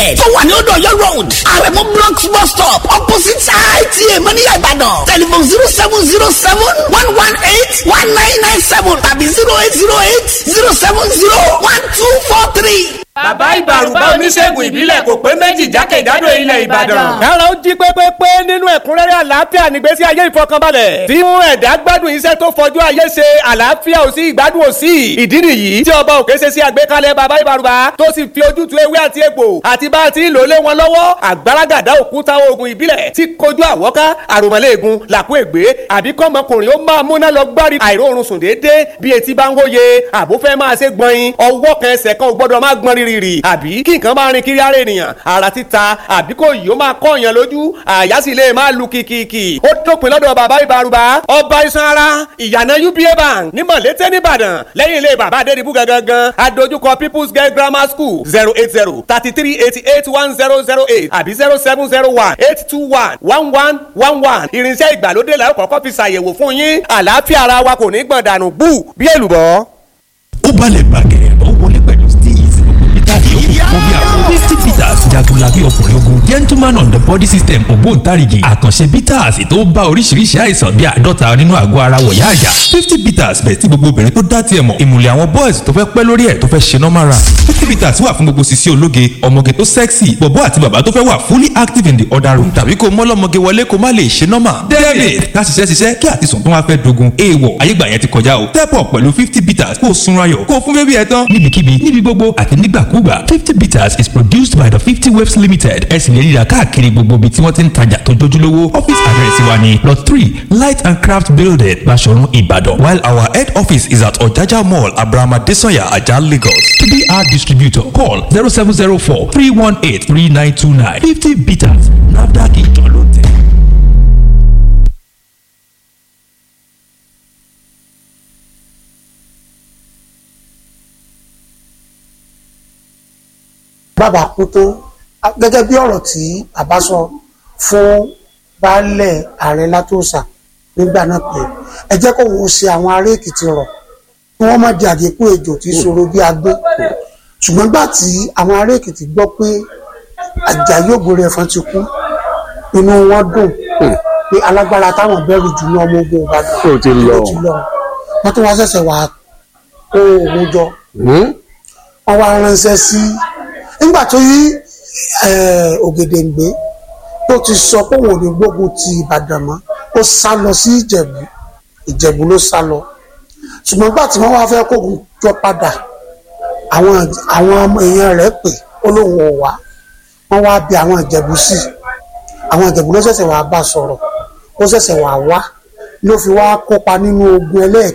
Tó wà ní Odò Ọ̀yọ́ Road, Àrẹ̀mú Blocks bus stop, opposite ITA Mọ́níyà Ìbàdàn. Telephone 07071181997 tàbí 08080701243. Bàbá Ìbàrùbá, oníṣègùn ìbílẹ̀ kò pé méjì jákèjádò ilẹ̀ Ìbàdàn. Kára ó jí pépépé nínú ẹ̀kúnrẹ́rẹ́ àlàáfíà nígbésí ayé ìfọkànbalẹ̀, tí mú ẹ̀dá gbádùn iṣẹ́ tó fọjú ayé ṣe. Àlàáfíà ò sí, ìgbádùn ò sí. Ìdí nìyí tí Ọba Òkè ṣe sí àgbékalẹ̀ Bàbá Ìbàrùbá, tó sì fi ojútùú ewé àti egbò àti bá a ti ń lò lé wọn lọ́wọ́. Àgbàràgàdá òkúta oògùn ìbílẹ̀ tí kojú àwọ́ká, àròmọ́lẹ́ẹ̀gùn, làkú ègbé, àbí kọ́mọkùnrin ó máa múná lọ gbárí àìróorun sùn déédéé bí etí bá ń hóye, àbó fẹ́ máa ṣe gbọ̀nyin, ọwọ́ kan ẹsẹ̀ kan ò gbọ́dọ̀ máa gbọ́n rírì, àbí kí nǹkan máa rin kiri ara ènìyàn, ara títa, àbí kò yìí ó máa kọ́ èèyàn lójú, àyà sì lè máa lu kìkìkì. Ó dópin lọ́dọ̀ Bàbá Ìbàrùbá, ọba iṣan ara, ìyànà UBA Bank ní Mọ̀lété nìbàdàn, lẹ́yìn ilé Bàbá Adédìbú gangan, adójúkọ People's Girl Grammar School. 08033881008 àbí 07018211111. Irinṣẹ́ ìgbàlódé la ó kọ́kọ́ fi ṣàyẹ̀wò fún yín. Àlàáfíà ara wa kò ní gbọ̀n dànù bú bí èlùbọ́. Ó balẹ̀ bàgẹ́, ó wọlé pẹ̀lú steez, peter yòókù kó bí àwọn 50 Bitters, jagunlabi ọkùnrin ogun, gentleman on the body system, ògbóǹtarìgì àkànṣe bitters tó bá oríṣiríṣi àìsàn bíi 50 nínú àgọ́ ara wọ̀yá àjà. 50 Bitters bẹ̀ tí gbogbo obìnrin tó dá tiẹ̀ mọ̀, ìmùlẹ̀ àwọn boys tó fẹ́ pẹ́ lórí ẹ̀ tó fẹ́ ṣe normal run. 50 Bitters wà fún gbogbo sisi ológe, ọmọge tó sexy, bọ̀bọ́ àti bàbá tó fẹ́ wà fully active in the other room, tàbí kó mọ́lọ́mọge wọlé kó má lè ṣe normal. David ká ṣiṣẹ́ ṣiṣẹ́ kí àti sùn tó wá fẹ́ dogun èèwọ̀ ayégbà yẹn ti kọjá o. Step up pẹ̀lú 50 Bitters, kó o sunra yọ̀, kó o fún bébí ẹ̀ tán níbikíbi, níbi gbogbo àti nígbàkúgbà. 50 Bitters is produced by the 50 Waves Limited. Ẹ sì lè ríra káàkiri gbogbo ibi tí wọ́n ti ń tajà tó jójúlówó. Office address wa ni Lot 3, Light and Craft Building, Baṣọ̀run, Ìbàdàn, while our head office is at Ọ̀jájá Mall, Abraham Adesanya, Ajah, Lagos. To be our distributor, call 07043183929. 50 Bitters, NAFDAC ìjọ ló tẹ̀. Bàbá kú tó, gẹ́gẹ́ bí ọ̀rọ̀ tí bàbá sọ fún baálẹ̀ ààrẹ Látòsà nígbà náà pé ẹ jẹ́ kó òun ṣe àwọn ará Èkìtì rọ̀ kí wọ́n má di àgékù ejò tí ṣòro bí agbé. Ṣùgbọ́n gbà tí àwọn ará Èkìtì gbọ́ pé Àjàyí Ògbóríẹ̀fọ́n ti kú, inú wọn dùn pé alágbára táwọn bẹ̀rù jù ní ọmọ ogun Ìbàdàn ó ti lọ. ó ti lọ. Wọ́n tún wá ṣẹ̀ṣẹ̀ wá kó ogun jọ, wọ́n wá ránṣẹ́ sí nígbà tó yí Ògèdèǹgbé tó ti sọ pé òun ò ní gbógun ti Ìbàdàn mọ́. Ó sá lọ sí Ìjẹ̀bú, Ìjẹ̀bú ló sá lọ. Ṣùgbọ́n nígbà tí wọ́n wá fẹ́ kógun jọ padà, àwọn èèyàn rẹ̀ pè, ó lóun ò wá. Wọ́n wá bi àwọn Ìjẹ̀bú sí, àwọn Ìjẹ̀bú ló ṣẹ̀ṣẹ̀ wá bá sọ̀rọ̀, ó ṣẹ̀ṣẹ̀ wá wá, ló fi wá kópa nínú ogun ẹlẹ́ẹ̀kejì.